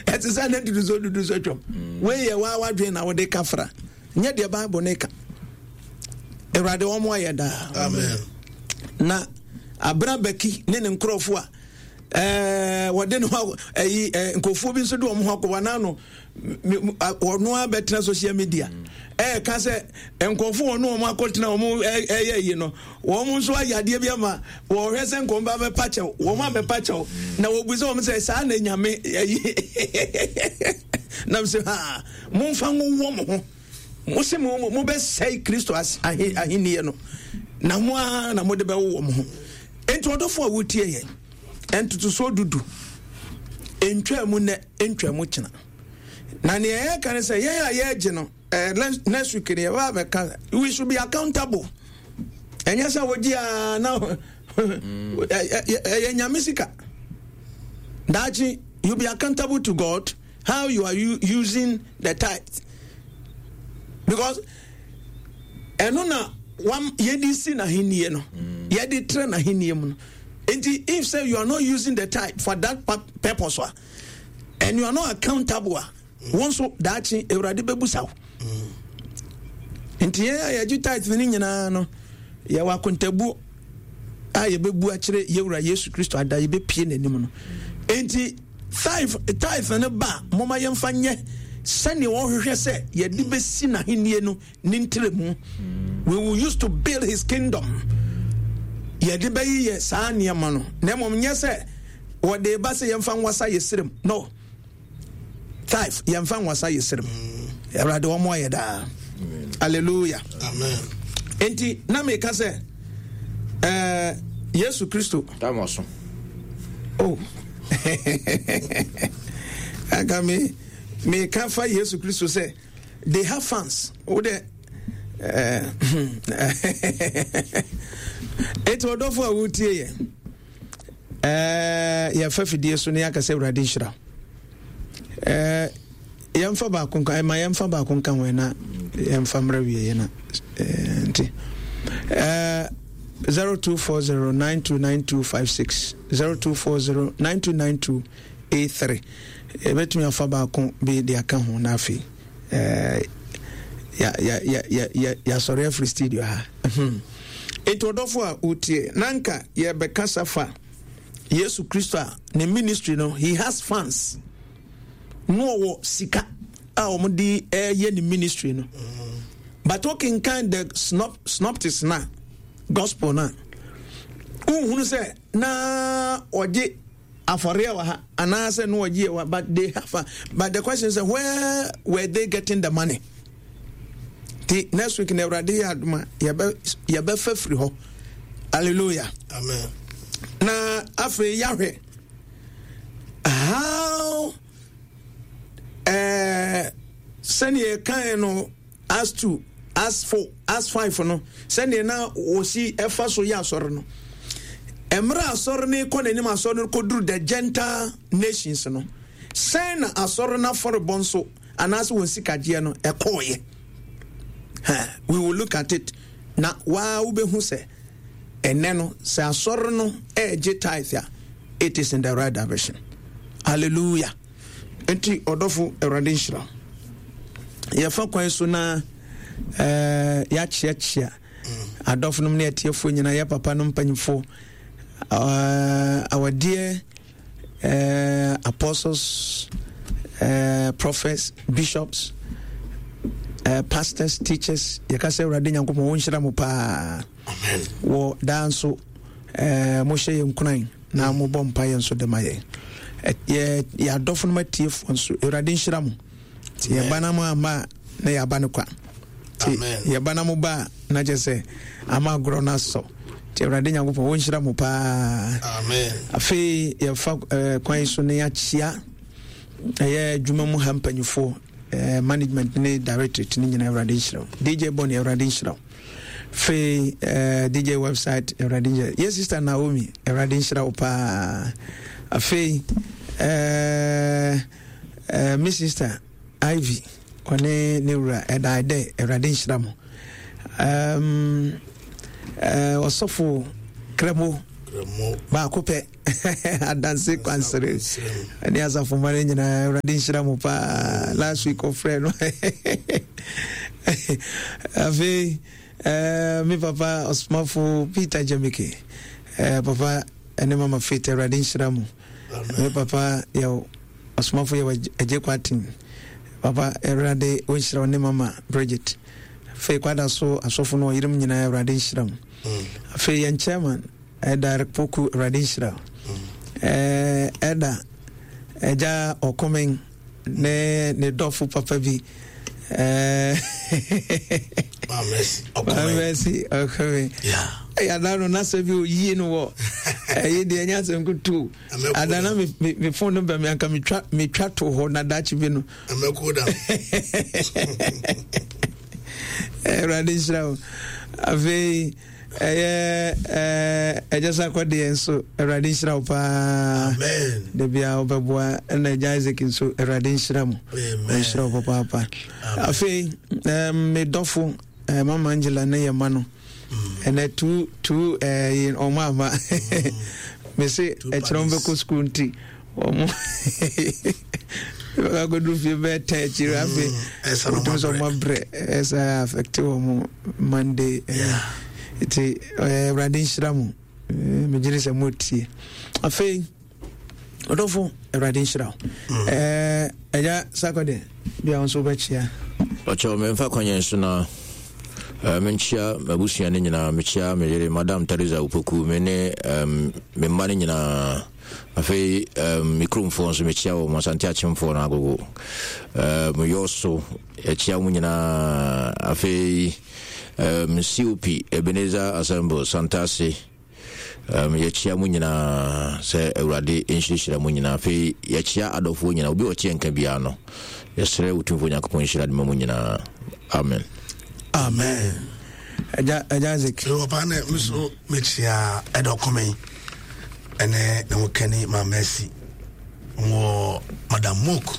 Ɛte sɛ ne ntotosoɔ dudu so atwam. Wei yɛ waa wadwen na wode ka fra. Nyɛ deɛ Bible ne ka. Awurade wɔn ayɛ daa. Amen. Na abena bɛki ne ne nkurɔfoɔ a ɛɛ wɔde ne ho ɛyi ɛɛ nkurɔfoɔ bi nso de wɔn ho akɔ wɔn ano wɔn a bɛtena social media ɛɛka sɛ nkurɔfoɔ wɔn wɔn akɔtena wɔn ɛyɛ yi no wɔn nso ayɛ adeɛ bi ama wɔhwɛ sɛ nkɔm ba bɛpa kyɛw wɔn abɛpa kyɛw na wɔbu sɛ wɔn sɛ saa na nyame ɛyi nam sɛ ha momfa nwowɔ mo ho mo se mo mobɛsɛe kristo ahenniɛ no na mo ara na mode bɛwowɔ mo ho enti ɔdɔfo a wotie yɛn ntotosoɔ dudu ntwaa mu nnɛ ntwaa mu kyena na nea yɛka ne sɛ yɛn a yɛregye no eh, next week no yɛbɛba bɛka we should be accountable ɛnyɛ sɛ wogye a na ɛyɛ nyame sika daakye you be accountable to God how you are using the tithe because ɛno na wam yɛde si n'ahennie no mm. yɛde trɛ n'ahennie mu no nti if say you are not using the tithe for that purpose a and you are not accountable a wɔn nso daakye awurade bɛbusa wo nti yɛn a yɛgye tithe no nyinaa no yɛwɔ akontabuo a yɛbɛbu akyerɛ yɛwura yesu kristo ada yɛbɛpie n'anim no nti tithe tithe no ba a moma yɛmfa nyɛ sɛnea wɔhwehwɛ sɛ yɛde bɛsi n'ahennie no ne ntrɛmu we will use to build his kingdom yɛde bɛyeyɛ saa nneɛma no na mmom nyɛ sɛ wɔde ba sɛ yɛmfa nwasa yɛ serem no tithe yɛmfa nwasa yɛ serem awurade wɔn ayɛ daa hallelujah amen enti na meka sɛ ɛɛ yesu kristo damaso oh anka me meka fa yesu kristo sɛ they have fans wo dɛ enti ɔdɔfo a wotie yɛ ɛɛ yɛfa fidie so na yɛaka sɛ awurade nhyira ɛɛ yɛmfa baako nka ɛma yɛmfa baako nka ho na yɛmfa mmerɛ wieɛ na ɛɛ nti ɛɛ 0240929256 0240929283 yɛbɛtumi afa baako bi de aka ho na afei ɛɛ yɛasɔre afiri studio ha nti ɔdɔfo a wotie na nka yɛbɛkasa fa yesu kristo a ne ministry no he has fans na ɔwɔ sika a wɔde ɛyɛ ne ministry no but wokenkan the synopsis na gospel no a wohunu sɛ na ɔgye afɔreɛ wɔ ha anaasɛ no ɔgye wɔ but they have a, but the question is where were they getting the money ti next week na awurade yɛ adoma yɛbɛfa firi hɔ hallelujah amen na afei yɛahwɛ how ɛɛ eh, sɛnea yɛkae no as two as four as five no sɛnea na wɔsi ɛfa so yɛ asɔre no mmerɛ asɔre no kɔ n'anim asɔre no kɔduru the gentile nations no sɛn na asɔre no afɔrebɔ nso anaasɛ wɔn sikagyeɛ no ɛkɔɔyɛ we will look at it na waa wobɛhu sɛ ɛnɛ no sɛ asɔre no ɛregye tithe a it is in the right direction hallelujah nti ɔdɔfo awurade nhyira yɛfa kwan so na eh, yɛakyeakyea adɔfo nom ne atiefoɔ nyinaa yɛ papa no mpanyimfoɔ eh, our dear eh, apostles eh, prophets bishops eh, pastors teachers yɛka sɛ awurade nyankopɔn wɔnhyira mo paa wɔ daa nso eh, mohyɛ yɛ nkuran na mobɔ mpaeɛ nso de ma yɛn yɛ yɛ adɔfo no atiefoɔ nso awurade nhyira mo nti yɛba na mo amma a na yɛaba no kwa nti yɛba na mo ba a na kyɛ sɛ ama agorɔ no asɔ nti awurade nyankopɔn wɔnhyira mo paa afei yɛfa eh, kwan so na yɛakyia ɛyɛ adwuma mu ha mpanyifoɔ eh, management ne directorate ne nyinaa awurade nhyira wo dj bɔne awurade nhyira wo Afei eh, DJ website Awurade nhyira. Yɛ sister Naomi Awurade nhyira wo paa. Afei eh, eh, me sister Ivy ɔne ne wura ɛda dɛ Awurade nhyira mo. Um, eh, ɔsɔfo Kremo Baako pɛ adanse kwansere ne asafomma no nyinaa Awurade nhyira mo paa. Last week ɔfrɛ no. Afei eh, me papa ɔsomafo Peter Jamike eh, papa ne mama Faith Awurade nhyira mo. Me papa yɛ ɔsomafo yɛ agye kwaten papa Awurade wɔnhyira wo ne mama Bridget. Afei kwada so asɔfo no ɔyerom nyinaa Awurade nhyira mo. Mm. Afei yɛn chairman Ɛda Eric Poku Awurade nhyira. Mm. Ɛda Agya Ɔkɔmɛn ne ne dɔfo papa bi. Mamɛsi Ɔkɔmɛn. Ɛyɛ no n'asɛ bi oyie no wɔ ɛyi deɛ ɛnyɛ asɛm kutu. Ada na me me phone no bɛ mi anka metwa metwa to hɔ na daakye bi no. Awurade nhyira wo. Afei ɛyɛ ɛgya sakɔ deɛ nso Awurade nhyira wo paa. Da biara wobɛboa ɛna ɛgya Isaac nso Awurade nhyira mo. Nhyira wo papaapa. Afei me dɔfo Mama Angela ne yɛ ma no. Ɛnɛ tu tu ɛɛ ɔmo ama. Mese ɛkyerɛ wɔn bɛkɔ sukuu nti. Wɔn akɔduru fie bɛyɛ tɛn akyiri mm, afei wotumi sɛ ɔmo abrɛ ɛsɛ affect wɔn Monday nti Awurade nhyira mo megye ne sɛ motie afei ɔdɔfo Awurade nhyira wo mm. ɛgya sakɔde bia wo nso wobɛkyia ɔkyɛw memfa kwanyɛ so na menkyia m'abusua no nyinaa mekyia me yere madam Teresa Opoku me ne me mma no nyinaa Afei um, me kuromfoɔ nso mekyia wɔn, Asante Akyemfoɔ no agogo. Um, Yɔso, yɛkyia wɔn nyinaa. Afei um, COP, Ebenezer Assemble, Santase, um, yɛkyia mu nyinaa sɛ Awurade nhyirahyira mu nyinaa. Afei yɛkyia adɔfoɔ nyinaa, obi a ɔte yɛn nka biara no, yɛsrɛ Otumfoɔ Nyankopɔn nhyira de ma mu nyinaa. Amen. Amen. Ɛgya ɛgya Isaac. Papa ne me so mekyia ɛdɔ kɔmɛn. ɛne ne ho kani ma Mercy wɔ Madam Mook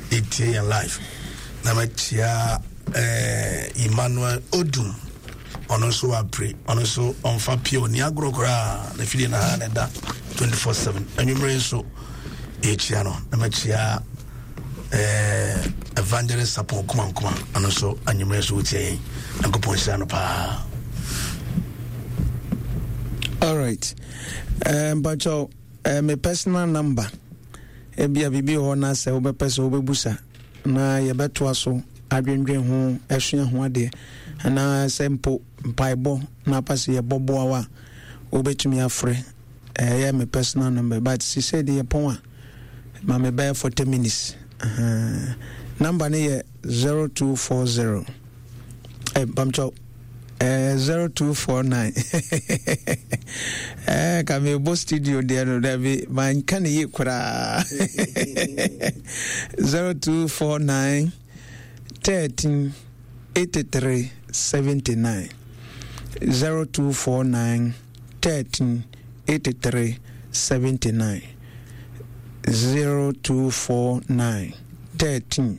ɛtie yɛn live na makyia eh, Emmanuel Odum ɔno nso wapere ɔno nso ɔmfa pie ɔni agorɔ koraa na fidie na ha na ɛda 24/7 anwummere nso yɛkyia no na makyia eh, Evangelist Sapon Kuma Nkuma ɔno nso anwummere nso wotie yɛn nyankopɔn nhyira no paa. All right. Eh, mpakyɛw, eh, me personal number ebia biribi wɔ hɔ na sɛ wobɛpɛ sɛ wobɛbusa na yɛbɛtoa so adwendwen ho asua ho adeɛ anaa sɛ mpo mpaebɔ na apa sɛ yɛbɔboa wo a wobɛtumi afrɛ ɛyɛ me personal number but sisɛ deɛ yɛpɔn a ma me bɛyɛ 40 minutes uh, number no yɛ 0240 eh, mpamkyɛw Eh, 0249 eh, ka mebɔ studio deɛ no dabi manka ne yie koraa 0249 13 83 79 0249 13 83 79 0249 13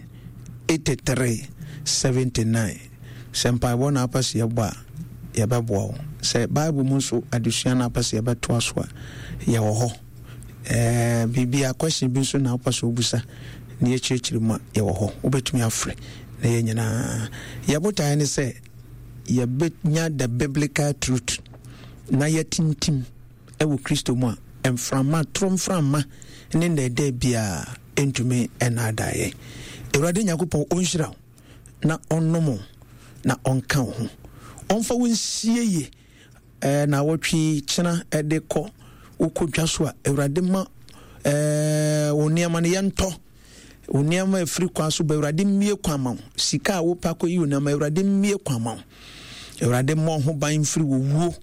83 79 Sɛ mpaebɔ na wopɛ sɛ yɛbɔ a, yɛbɛboa wo. Sɛ Bible mu nso adesua na wopɛ sɛ yɛbɛtoa so a, yɛwɔ hɔ. Ɛɛ biribi a question bi nso na wopɛ sɛ wobisa na yɛkyerɛkyerɛ mu a, yɛwɔ hɔ. Wobɛtumi afrɛ na yɛn nyinaa. Yɛn botaeɛ ne sɛ yɛbɛnya the biblical truth na yɛatintim wɔ Kristo mu a, mframa, toro mframa ne nnɛɛdɛɛ biara ntumi nnaadaa yɛn. Awurade Nyankopɔn ɔnhyira wo. na ɔnnom wo, na ɔnka wo ho. Ɔmfa wo nsie yie ɛɛ naawɔtwe yi kyena ɛde kɔ wokɔ dwa so a Awurade ma ɛɛ wo nneɛma no yɛntɔ wo nneɛma ɛfiri kwan so ba Awurade mmie kwan ma wo sika a wopɛ akɔyi wo nneɛma Awurade mmie kwan ma wo Awurade mmɔ ho ban mfiri wɔ wuo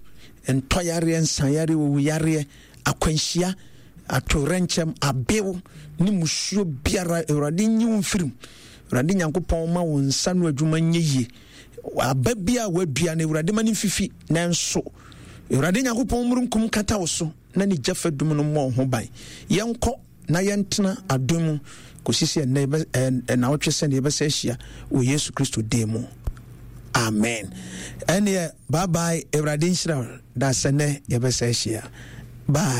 ntɔyareɛ nsayareɛ owuyareɛ akwanhyia atowerɛnkyɛm abew ne musuo biara Awurade nyi wo mfiri mu Awurade Nyankopɔn ma wo nsa no adwuma nyɛ yie. Aba bi a wadua no Awurade ma no mfifi nanso Awurade Nyankopɔn mmurunkum kata wo so na ne gya fadum no mmɔ wo ho ban. Yɛnkɔ na yɛntena adom mu kɔsi sɛ ɛnɛ nawɔtwe sɛdeɛ yɛbɛsɛ ahyia wɔ Yesu Kristo din mu. Amen. Ɛneɛ bye bye Awurade nhyira da sɛ nɛ yɛbɛsɛ ahyia. Bye.